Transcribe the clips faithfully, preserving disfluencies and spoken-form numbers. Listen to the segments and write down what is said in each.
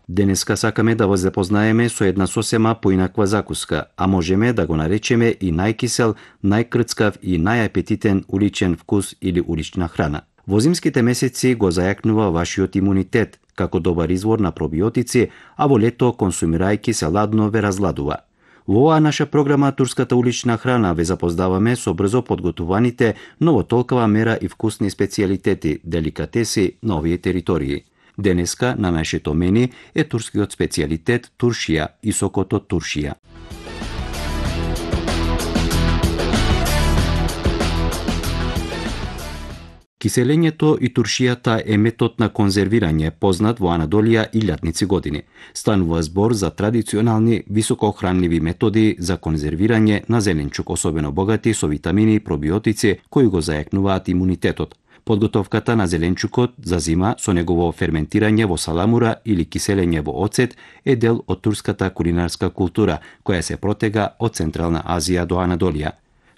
Денеска сакаме да ве запознаеме со една сосема поинаква закуска, а можеме да го наречеме и најкисел, најкрцкав и најапетитен уличен вкус или улична храна. Во зимските месеци го зајакнува вашиот имунитет, како добар извор на пробиотици, а во лето консумирајќи се ладно ве разладува. Во оваа наша програма Турската улична храна ве запознаваме со брзо подготуваните, но во толкова мера и вкусни специјалитети, деликатеси на овие територии. Денеска на нашето мени е турскиот специјалитет туршија и сокото туршија. Киселењето и туршијата е метод на конзервирање познат во Анадолија илјадници години. Станува збор за традиционални високохранливи методи за конзервирање на зеленчук, особено богати со витамини и пробиотици кои го зајакнуваат имунитетот. Подготовката на зеленчукот за зима со негово ферментирање во саламура или киселење во оцет е дел од турската кулинарска култура, која се протега од Централна Азија до Анадолија.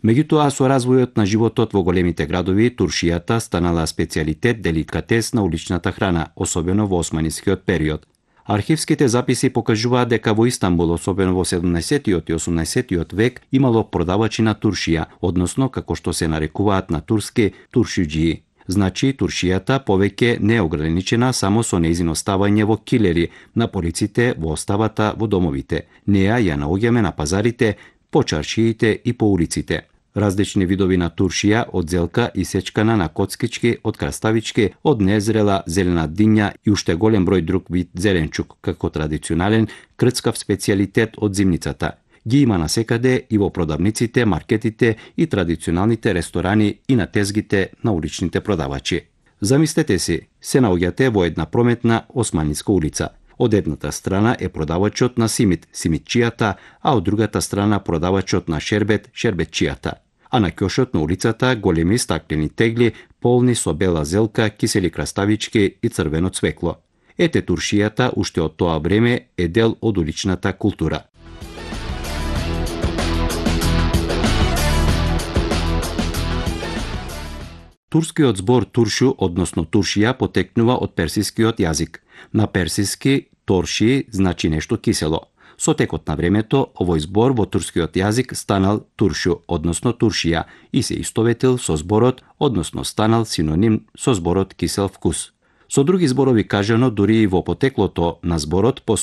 Меѓутоа, со развојот на животот во големите градови, туршијата станала специјалитет, деликатес на уличната храна, особено во османискиот период. Архивските записи покажуваат дека во Истанбул, особено во седумнаесеттиот и осумнаесеттиот век, имало продавачи на туршија, односно како што се нарекуваат на турски туршиџии. Значи, туршијата повеќе не е ограничена само со нејзино ставање во килери, на полиците, во оставата, во домовите. Неа ја наоѓаме на пазарите, по чаршиите и по улиците. Различни видови на туршија, од зелка исечкана на коцкички, од краставички, од незрела зелена диња и уште голем број друг вид зеленчук, како традиционален крцкав специјалитет од зимницата. Ги има насекаде и во продавниците, маркетите и традиционалните ресторани и на тезгите на уличните продавачи. Замислете си, се наоѓате во една прометна османска улица. Од едната страна е продавачот на симит, симитчијата, а од другата страна продавачот на шербет, шербетчијата. А на ќошот на улицата големи стаклени тегли полни со бела зелка, кисели краставички и црвено цвекло. Ете туршијата уште од тоа време е дел од уличната култура. Турскиот збор туршу, односно туршија, потекнува од персискиот јазик. На персиски торши значи нешто кисело. Со текот на времето, овој збор во турскиот јазик станал туршу, односно туршија, и се истоветил со зборот, односно станал синоним со зборот кисел вкус. Со други зборови кажано, дури и во потеклото на зборот постои